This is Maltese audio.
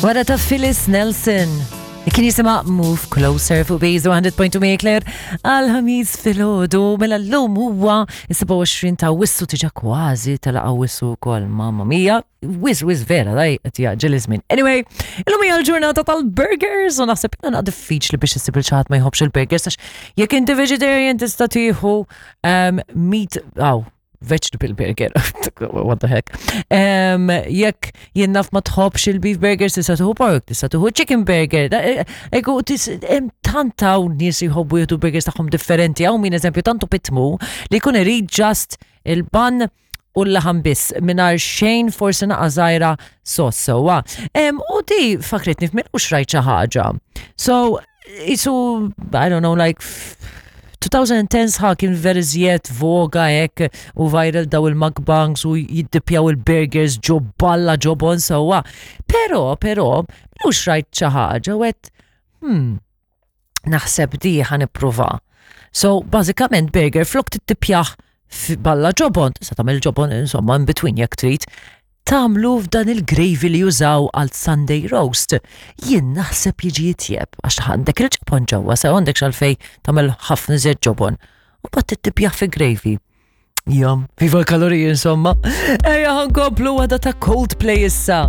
Wara ta' Phyllis Nelson. Kien jisima Move Closer fuq Bejzu 100.2 Mekler għal ħamis filgħodu mela llum huwa 27 ta' wissu tiġa kważi tela' wissu wkoll mamma mia. Wis wis vera daj qed jaġġel iż-żmien. Anyway, illum hija l-ġurnata tal-burgers u naħseb jiena diffiċli biex issib il ħadd ma jħobbx il-burgers għax jekk inti vegetarian tista' tieħu um, meat aw vegetable burger, what the heck. Um, jekk jien naf ma tħobbx il-beef burger, tista' tuħu pork, tista' tuħu chicken burger. Eh, Ego, tant hawn nies jħobbu jieħdu burgers tagħhom differenti, hawn min eżempju tantu pitmu li jkun irid just il-ban u l-laħam biss mingħajr xejn forsi naqa' żgħira sos sewwa. U di fakritni f'min u xrajt xi ħaġa. So, isu, I don't know, like 2010 sħa kien veri żjed voga hekk u viral daw il-mukbangs u jiddipjaw il-burgers ġo balla ġobon sewwa. Però, però, mhux rajt xi ħaġa u għedt, hmm, naħseb di ħa nipprova. So, bażikament burger flok tittipjah balla ġobon, tista' tagħmel ġobon insomma in between jekk trid, tagħmlu f'dan il-gravy li jużaw għal Sunday roast. Jien naħseb jiġi jitjeb għax għandek il-ġobon ġewwa, sew għandek xalfej tagħmel ħafna iżjed ġobon. U bat tittipjah fi gravy. Jom, viva l-kaloriji insomma. Ejja ħankomplu għada ta' Coldplay issa.